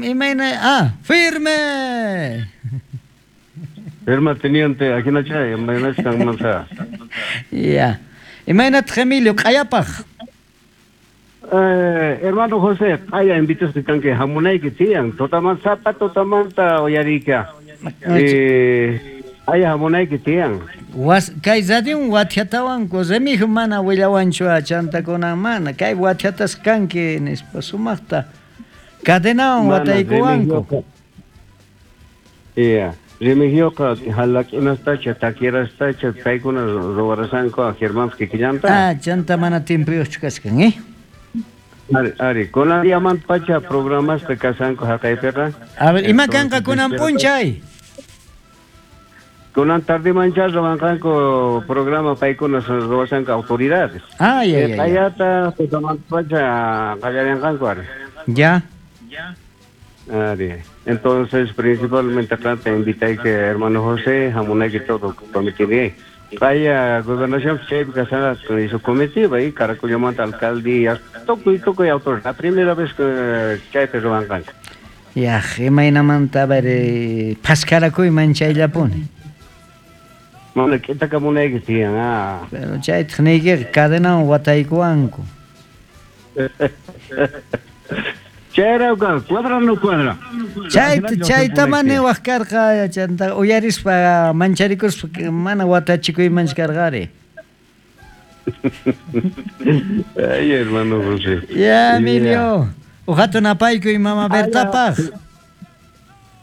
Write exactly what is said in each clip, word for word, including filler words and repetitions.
Imayna ah, firme. Firme teniente, ajinacha, imaynach kanmanta. Ya. Imaynataq Emilio q'ayapaq? Eh, hermano José, q'aya invitasqa kanki hamunayki tiyan, tutamanta sapa tutamanta uyariyka. Eh, q'aya hamunayki tiyan. Was kay radion wathiatawanku Remigio mana willawanchu chantakunan mana kay wathiatas kanki nispa sumaqta cadenawan wataykuwanku. Ya, Remigioqa halak'inastacha takirastacha paykuna ruwarasanku Germán kikillanta. Ah, chanta mana tiempuyuqchu kachkan, eh? Ari, ari, kunan diamanta pacha programasqa kasanku haqaypiqa. A ver, ima kanqa kunan p'unchay? Kunan tardemancha ruwanqanku programa paykuna ruwasanku autoridades. Ah, ya, ya, ya. Q'ayata tutamanta pacha qallarinqanku ari. Ya. Ari. Entonces, principalmente acá te invité que hermano José, hamunayki todo comité. Vaya gobernación chaypi kasana hizo comitiva y Caracollamanta alcaldía, tukuy tukuy autoridad. La primera vez que chaypi ruwanqanku. Ya, imaynamanta a ver, phaskarakuyman chayllapuni. Mana k'itakamunayki tiyan, ah. Pero chaytaq niykiqa cadenawan wataykuwanku. Chayrayku cuadra no cuadra. Chayta chayta mana niwaq karqa chanta uyarispa mancharikuspa mana watachikuymanchu karqari. Ay, hermano José. Ya, Emilio. Uqatun apaykuy mama Bertapaq.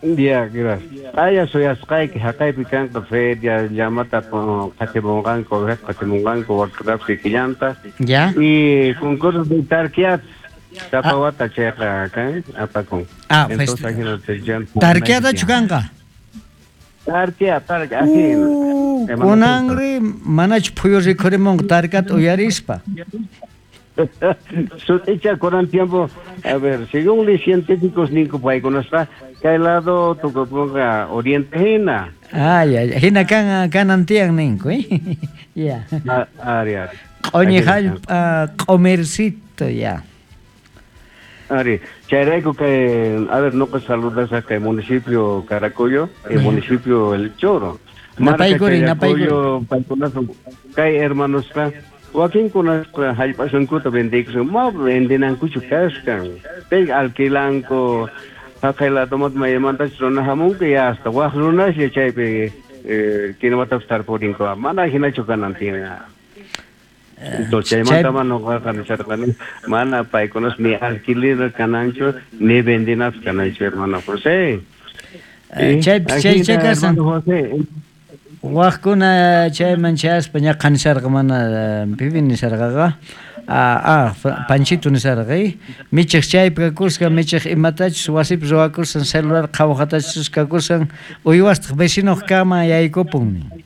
Ya, gracias. Aya suyasqayki haqaypi kanqa feria llamata qatimunqanku, qatimunqanku waqrap kikillanta. Ya. Y concurso de tarquiat. Sapa wata chayqa kan apakun. Ah, tarquiatachu kanqa? Tarquia, tarquia, así. Kunanri manachu phuyu rikhurimunqa tarkata uyarispa. Sut'icha kunan tiempo, a ver, según los científicos ninku paykunasqa kay lado tukupunqa oriente hina. Ay, ay, hina kan kanan tiyan ninku, eh. Ya. Ari, ari. Q'uñi hallp'a q'umircito, ya. Ari, chayrayku kay, a ver, noqa saludasaq kay municipio Caracollo, el municipio El Choro. Napaykuri, napaykuri. Paykunasun kay hermanosqa wakinkunasqa hallp'asunkuta vendiykusun, ma vendinankuchu kaskan. Pay alquilanku, haqay ladomanta maymantachus runa hamunku ya hasta waq runaslla chaypi kinuwatapas tarpurinku, mana hinachu kanan tiyan. Entonces, chaymanta mana noqaqa nisharqani, mana paykunas ni alquiler kananchu, ni vendinapas kananchu, hermano José. Chaypi chaycha kasan. Waqkuna chayman chayaspa ñaqa nisharqa mana pipi nisharqaqa. Ah, ah, Panchito nisharqa, eh? Michiq chaypi kakusqa, michiq imatachus wasipi ruwakusan, celular qhawaqatachus kakusan, uywastaq vecinoq kama yaykupun.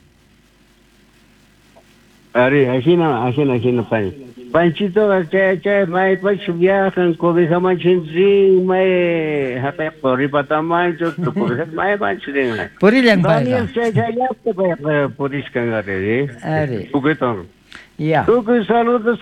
Ari, ajina, ajina, ajina, pan. Panchito, chay, chay, maypach viajan, cobijamanchu rin, may, haqay qoripatamanchu, tucubija, maymanchu rin. Purillan payqa. Daniel, chay, chay, llaqta payqa puriskan, ari, eh? Ari. Tukuy Ya. Tukuy saludos,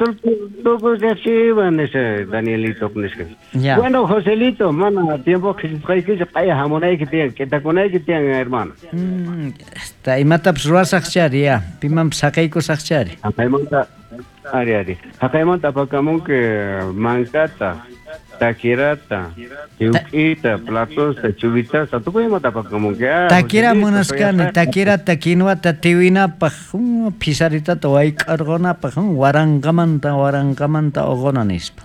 tukuy riqsiwan, ese Danielito, nisqa. Ya. Bueno, Joselito, mana tiempo qhisqaykichu, q'aya hamunayki tiyan, k'itakunayki tiyan, hermano. Mm, esta imatapas ruwasaq chari, ya, pimanpas saqaykusaq chari. Haqaymanta, ari, ari. Haqaymanta apakamunki mankata, takirata, chiwk'ita, platosta, chubitasta, tukuy imata apakamunki. Takira munasqani, takirata, kinuata tiwinapaq, phisaritata wayk'arqunapaq, waranqamanta, waranqamanta uquna nispa.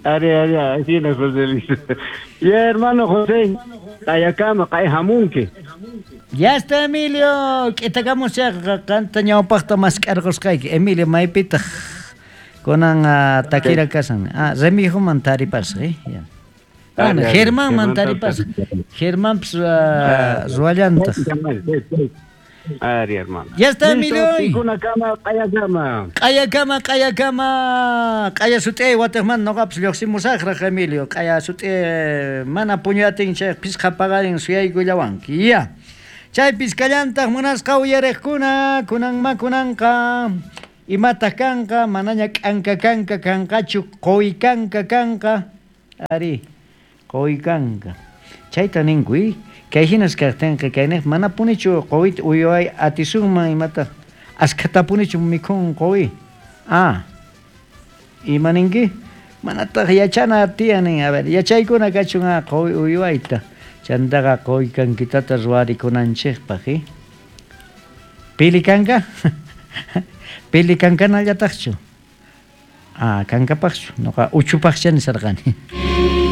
Ari, ari, ajina, José Luis. Ya, hermano José, q'ayakama, q'ay hamunki. Ya está, Emilio, k'itakamusaq qanta ñawpaqta mask'arqusqayki. Emilio, maypitaq kunan takira kasan? Ah, Remigioman taripasaq, eh? Ya. Bueno, Germánman taripasaq. Germánpas ruwallantaq. Ari, hermano. Ya está, Emilio. Q'ayakama, q'ayakama. Q'ayakama, q'ayakama. Q'aya sut'i wataqmanta noqapas lluqsimusaqraq, Emilio. Q'aya sut'i mana puñuyatin chay pisqa paqarin suyaykullawanki. Ya. Chaypis kallantaq munasqa uyariqkuna, kunanma kunanqa imataq kanqa, manaña k'anka kanka kanqachu, quwi kanka kanqa. Ari, quwi kanka. Chayta ninku, i? Kay hinas kaqtinqa kayniq manapunichu quwita uyway atisunman imata askhatapunichu mikhun quwi. Ah, ima ninki? Manataq yachana tiyan nin. A ver, yachaykuna kachun a quwi uywayta. Chantaqa quwi kankitata ruwarikunanchikpaq, i? Pili kanka? Pili kankanallataqchu? Ah, kankapaqchu. Noqa uchupaqcha nisarqani.